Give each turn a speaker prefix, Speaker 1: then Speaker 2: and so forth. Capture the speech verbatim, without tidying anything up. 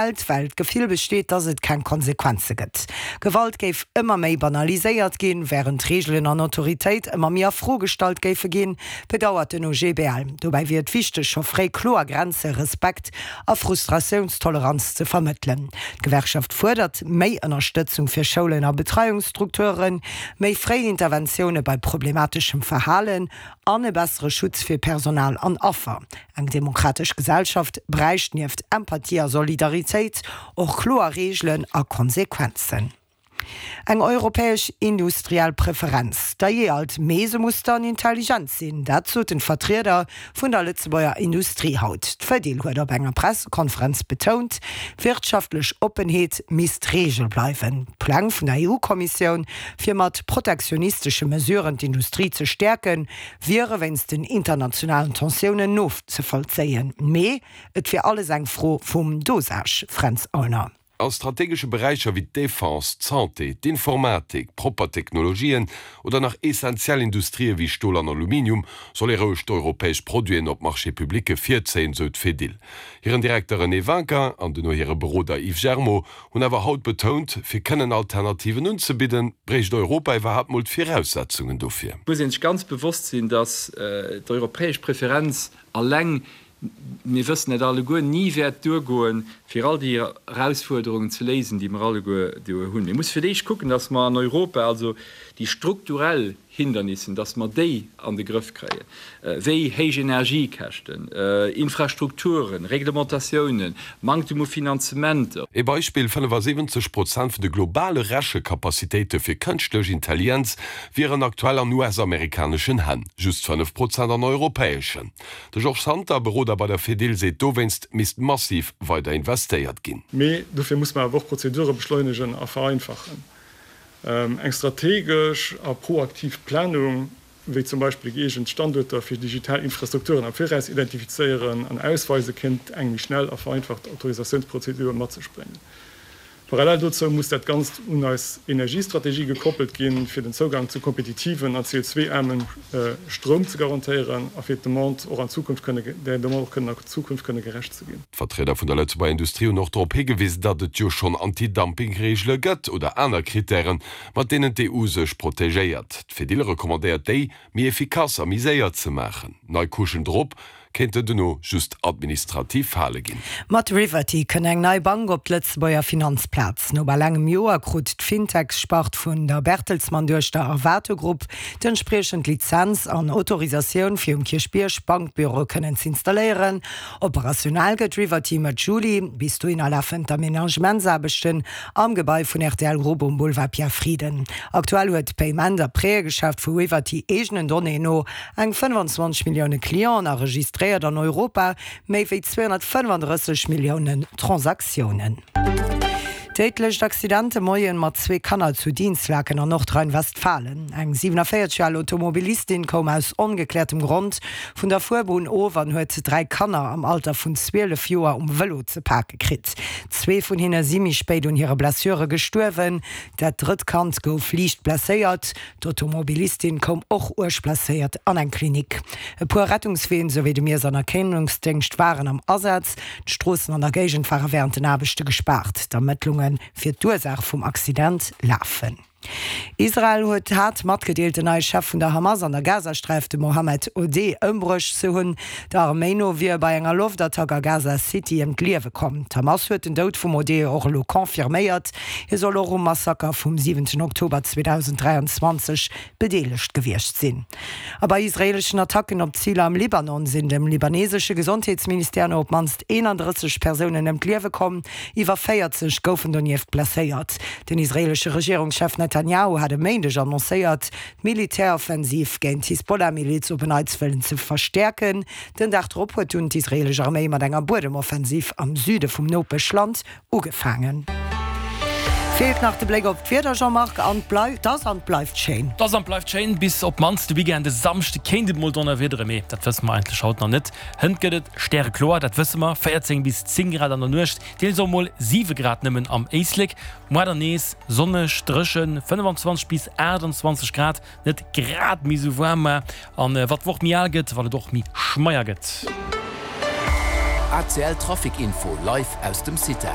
Speaker 1: Well d'Gefill besteet, dass et keng Konsequenze gëtt. Gewalt géif ëmmer méi banaliséiert ginn, wärend Reegelen an Autoritéit ëmmer méi a Fro gestallt géife ginn, bedauert den O G B L. Dobäi wier et wichteg, scho fréi kloer Grenzen, Respekt a Frustratiounstoleranz ze vermëttelen. D'Gewerkschaft fuerdert méi Ënnerstëtzung fir Schoulen a Betreiungsstrukturen, méi fréi Interventioune bei problemateschem Verhalen an e bessere Schutz fir Personal an Affer. Eng demokratesch Gesellschaft bräicht nieft Empathie a Solidaritéit och kloer Reegelen a Konsequenzen. Eng europäesch industriell Preferenz, dajee alt, mee se muss dann intelligent sinn, dat soten d'Vertrieder vun der Lëtzebuerger Industrie haut. D'Fedil huet op enger Pressekonferenz betount, wirtschaftlech Oppenheet misst d'Reegel bleiwen. D'Pläng vun der E U-Kommissioun, fir mat protektionistesche Mesuren d'Industrie ze stäerken, wiere wéinst den internationalen Tensiounen nozevollzéien. Mee et wier alles eng Fro vum Dosage, Fränz Aulner.
Speaker 2: A strategesche Beräicher wéi d'Defense, d'Santé, d'Informatik, propper Technologien oder nach essentiell Industrië wéi Stol an Aluminium soll ee roueg d'europäesch Produiten op Marché-publicke virzéien, sou d'Fedil. Hiren Direkter René Winkin an duerno hire Beroder Yves Germo hunn awer haut betount, fir kënnen Alternativen unzebidden, bréicht Europa iwwerhaapt mol d'Viraussetzungen dofir.
Speaker 3: Et muss ee sech ganz bewosst sinn, dass d'europäesch Preferenz alleng, mir wëssen et alleguer, ni wäert duergoen, fir all déi Erausfuerderungen ze léisen, déi mer alleguer do hunn. Mir musse fir d'éischt kucken, dass mer an Europa also déi strukturell Hindernissen, dass mer déi an de Grëff kréien, wéi héich Energiekäschten, Infrastrukturen, Reglementatiounen, Manktem u Finanzementer.
Speaker 2: Ee Beispill, fënnefasiwwenzeg Prozent vun de globale Rechekapazitéite fir kënschtlech Intelligenz wieren aktuell an U S-amerikaneschen Hänn, just fënnef Prozent an europäeschen. De Georges Santer, Beroder bei der Fedil, seet, dowéinst misst massiv weider investéiert ginn.
Speaker 4: Mee dofir muss mer awer och Prozedure beschleunegen a vereinfachen. Eng strategesch a proaktiv Planung, wéi zum Beispill gëeegent Standuerter fir digital Infrastrukturen am Viraus identifizéieren an ausweisen, kéint eng méi schnell a vereinfacht Autorisatiounsprozedur mat sech bréngen. Parallel dozou muss dat Ganzt un eis Energiestrategie gekoppelt ginn, fir den Zougang zu kompetitiven an C O zwei aarme Stroum ze garantéieren a fir d'Demande och an Zukunft kënne der Demande och kënnen an Zukunft kënne gerecht ze ginn.
Speaker 2: D'Vertrieder vun der Lëtzebuerger Industrie hunn och drop higewisen, datt et jo schonn Anti-Dumping-Reegele gëtt oder aner Krittären, mat deenen d'E U sech protegéiert. D'Fedil recommandéiert, déi méi effikass a méi séier ze maachen. Nei Couchen drop kéinten duerno just administrativ Fale ginn.
Speaker 1: Mat Riverty kënnt eng nei Bank op d'Lëtzebuerger Finanzplaz. No bal engem Joer krut d'Fintech-Spart vun der Bertelsmann-Duechter Arvato Group d'entspriechend Lizenz an Autorisatioun fir um Kierchbierg Bankbüroe kënnen z'installéieren. Operationell gëtt Riverty Mëtt Juli. Bis dohinner lafen d'Amenagementsaarbechten am Gebai vun R T L Group um Boulevard Pierre Frieden. Aktuell huet d'Payment a Prêtëgeschäft vu Riverty eegenen Donnéeën no eng fënnefenzwanzeg Millioune Clienten a registréiert an Europa méi wéi zweehonnertfënnefandrësseg Milliounen Transaktiounen. Déidlecht Accident de Moien mat zwee Kanner zu Dinslaken an Nordrhein-Westfalen. Eng siewenenvéierzeg Joer al Automobilistin koum aus ongekläertem Grond vun der Fuerbunn of an huet dräi Kanner am Alter vun zwielef Joer um Vëlo ze pake kritt. Zwee vun hinne si méi spéit un hire Blessure gestuerwen. Dat drëtt Kand gouf liicht blesséiert. D'Automobilistin koum och uerg blesséiert an eng Klinik. E puer Rettungsween souwéi de Miess an Erkennungsdéngscht waren am Asaz. D'Stroossen an der Géigend ware wärend den Aarbechte gespaart. D'Ermëttlunge fir d'Ursaach vum Accident lafen. Israel huet haut matgedeelt, den neie Chef vun der Hamas an der Gazasträif, de Mohammed Odeh, ëmbruecht ze hunn. Der Arméi no wier e bei enger Loftattack a Gaza City ëm d'Liewe komm. D'Hamas huet den Doud vum Odeh och elo confirméiert. Hie soll och um Massaker vum siwenten Oktober zweedausend dräianzwanzeg bedeelegt gewiescht sinn. A bei israeeleschen Attacken op Ziler am Libanon sinn dem libanesesche Gesondheetsministère no op d'mannst eenandrësseg Persounen ëm d'Liewe komm, iwwer véierzeg goufen donieft blesséiert. Den israeelesche Regierungschef Netanjahu hat e Méindeg annoncéiert, d'Militäroffensiv géint d'Hisbollah-Miliz op en Neits wëllen ze verstäerken. Den Dag drop huet dunn d'israeelesch Arméi mat enger Buedemoffensiv am Süde vum Nopeschland ugefaangen. Feelt nach de Bléck op d'Wieder, Jean-Marc, an et ass an bleift schéin.
Speaker 5: Et ass an bleift schéin, bis op d'mannst de Weekend. De Samschde kéint et mol donnerwiederen, mee dat wësse mer eigentlech haut nach net. Hënt gëtt et stärekloer, dat wësse mer, véierzéng bis zéng Grad an der Nuecht, deels och mol siwe Grad nëmmen am Éislek. Muer dann nees sonneg, dréchen, fënnefenzwanzeg bis aachtanzwanzeg Grad, net grad méi sou waarm, mä an wat d'Woch méi al gëtt, wat et och méi schmeier gëtt.
Speaker 6: A C L Trafic Info live aus dem CITA.